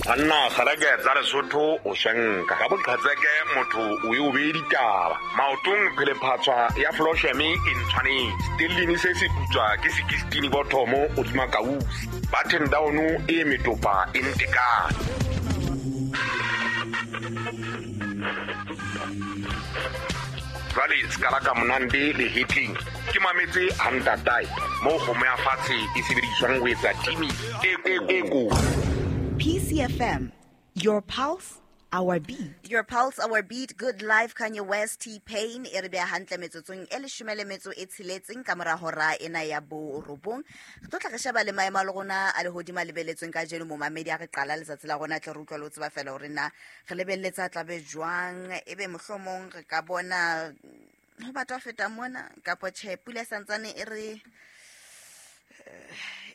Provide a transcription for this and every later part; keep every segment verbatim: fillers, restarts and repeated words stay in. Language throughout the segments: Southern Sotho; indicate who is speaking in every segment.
Speaker 1: Banna kgaleke tsa Lesotho o shenka ka boqhetseke motho o e o bee ditaba maotong phelephatswa ya flosheme e ntshwanetse stellini se se putswa ke sixteen bothomo hodima kausi button down e metopa e ntekane. Jwale skala ka monande le hitling ke mametse hantatae mo kgomo ya fatshe e sebediswang ho etsa timi e e ko.
Speaker 2: P C F M, your pulse, our beat.
Speaker 3: Your pulse, our beat. Good life, Kanye West, T-Pain. E re beha hantle metsotsong e leshome le metso e tsheletseng ka mora hora ena ya borobong. Re tlo tla re sheba le maemo a le rona a lehodimo a lebeletsweng kajeno momamedi a re qala letsatsi la rona tle re utlwa le ho tseba fela hore na re lebeletse tla be jwang, ebe mohlomong re ka bona ho batho ba feta mona kapa tjhe pula santsane e re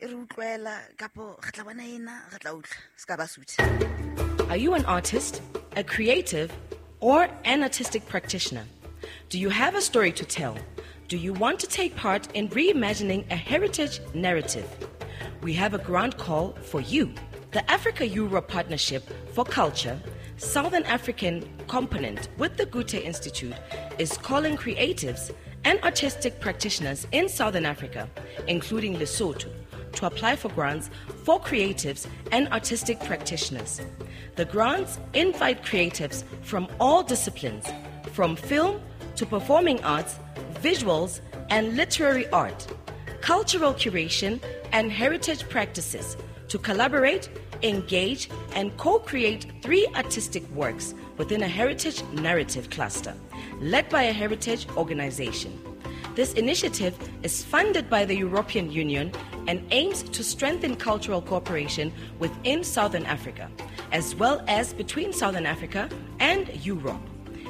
Speaker 3: e re utlwela kapo re tla bona ena re tla utlwa se ka ba suthe.
Speaker 4: Are you an artist, a creative, or an artistic practitioner? Do you have a story to tell? Do you want to take part in reimagining a heritage narrative? We have a grant call for you. The Africa-Europe Partnership for Culture, Southern African component with the Goethe Institute, is calling creatives and artistic practitioners in Southern Africa, including Lesotho, to apply for grants for creatives and artistic practitioners. The grants invite creatives from all disciplines, from film to performing arts, visuals and literary art, cultural curation and heritage practices, to collaborate, engage, and co-create three artistic works within a heritage narrative cluster, led by a heritage organization. This initiative is funded by the European Union and aims to strengthen cultural cooperation within Southern Africa, as well as between Southern Africa and Europe,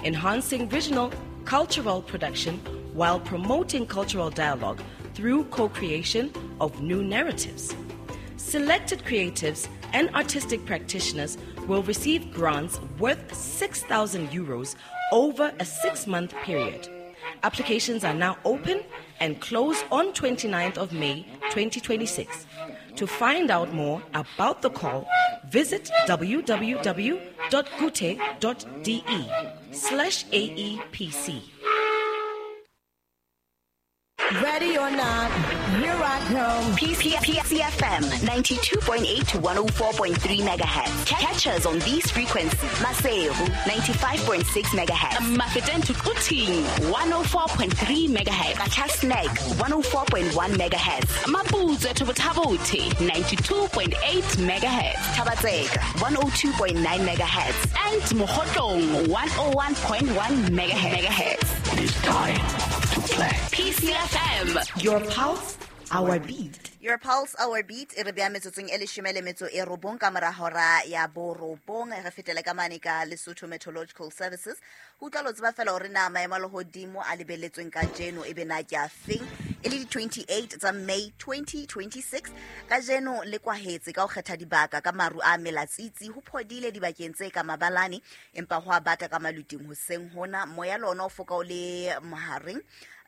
Speaker 4: enhancing regional cultural production while promoting cultural dialogue through co-creation of new narratives. Selected creatives and artistic practitioners will receive grants worth six thousand euros over a six-month period. Applications are now open and close on twenty-ninth of May twenty twenty-six. To find out more about the call, visit www.goethe.de slash A E P C.
Speaker 5: Ready or not, here I come.
Speaker 3: P C F M ninety-two point eight to one oh four point three megahertz. Catch us on these frequencies. Maseru ninety-five point six megahertz.
Speaker 6: Mafeteng to Quthing one oh four point three megahertz.
Speaker 3: Qacha's Nek one oh four point one megahertz.
Speaker 6: Maputsoe to Botha-Bothe ninety-two point eight megahertz.
Speaker 3: Thaba-Tseka one oh two point nine megahertz.
Speaker 6: And Mokhotlong one oh one point one megahertz.
Speaker 7: It is time to play.
Speaker 6: P C F M.
Speaker 2: Your pulse, our beat.
Speaker 3: Your pulse, our beat. E re beha metsotsong e leshome le metso e robong ka mora hora ya borobong. Re fetele ka mane ka Lesotho Meteorological Services. Ho utlwa lo tseba fela hore na maemo a lehodimo a lebelletsweng kajeno ebe na ke a feng. E le di twenty-eight tsa May twenty twenty-six. Kajeno le kwahetse ka ho kgetha dibaka ka maru a melatsitsi ho phodile dibakeng tse ka mabalane empa ho a bata ka maluting hoseng hona. Moya le ona o foka o le mohareng.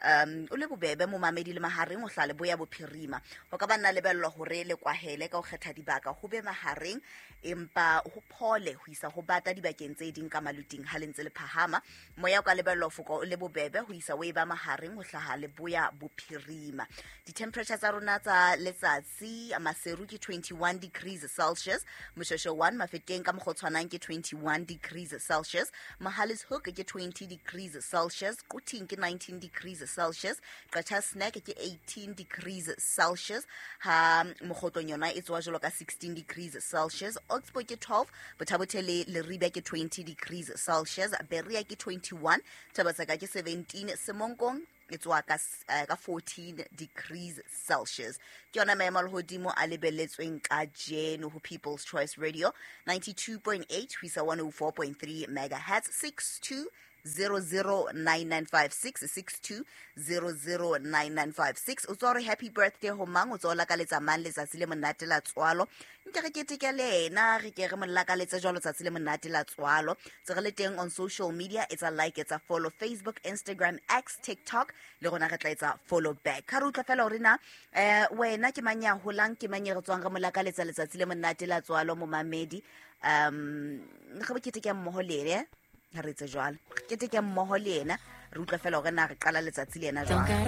Speaker 3: Um, o le bobebe momamedi le mahareng o hlale boya bophirima. Ho ka ba nna lebellwa hore le kwahele ka ho kgetha dibaka ho be mahareng empa ho phole ho isa ho bata dibakeng tse ding ka maluting ha le ntse le phahama. Moya o ka lebellwa ho foka o le bobebe ho isa o e ba mahareng ho hlaha le boya bophirima. Di-temperature tsa rona tsa letsatsi Maseru ke twenty-one degrees Celsius, Moshweshwe one Mafeteng ka mokgwa o tshwanang ke twenty-one degrees Celsius, Mohale's Hoek ke twenty degrees Celsius, Quthing ke nineteen degrees Celsius, Qacha's Nek ke eighteen degrees Celsius, ha Mokhotlong yona e tswa jwalo ka sixteen degrees Celsius, Oxbow ke twelve, Botha-Bothe le Leribe ke twenty degrees Celsius, Berea ke twenty-one, Thaba-Tseka ke seventeen, Semonkong e tswa ka, uh, ka fourteen degrees Celsius. Ke yona maemo a lehodimo a lebelletsweng kajeno ho People's Choice Radio ninety-two point eight ho isa one oh four point three megahertz, six two zero zero nine nine five six six two zero zero nine nine five six. O tswa hore happy birthday ho mang, o tswa o lakaletsa mang letsatsi le monate la tswalo. Nke re keteke le ena, re ke re mo lakaletse jwalo tsatsi le monate la tswalo. Tse re le teng on social media, etsa like, etsa follow Facebook, Instagram, X, TikTok, le rona re tla etsa follow back. Ha re utlwa fela hore na eh wena ke mang ya holang, ke mang e re tswang re mo lakaletsa letsatsi le monate la tswalo momamedi. Um re bo keteke mmoho le ene, ha re etse jwalo. Re keteke mmoho le ena, re utlwa fela hore na re qala letsatsi le ena jwang.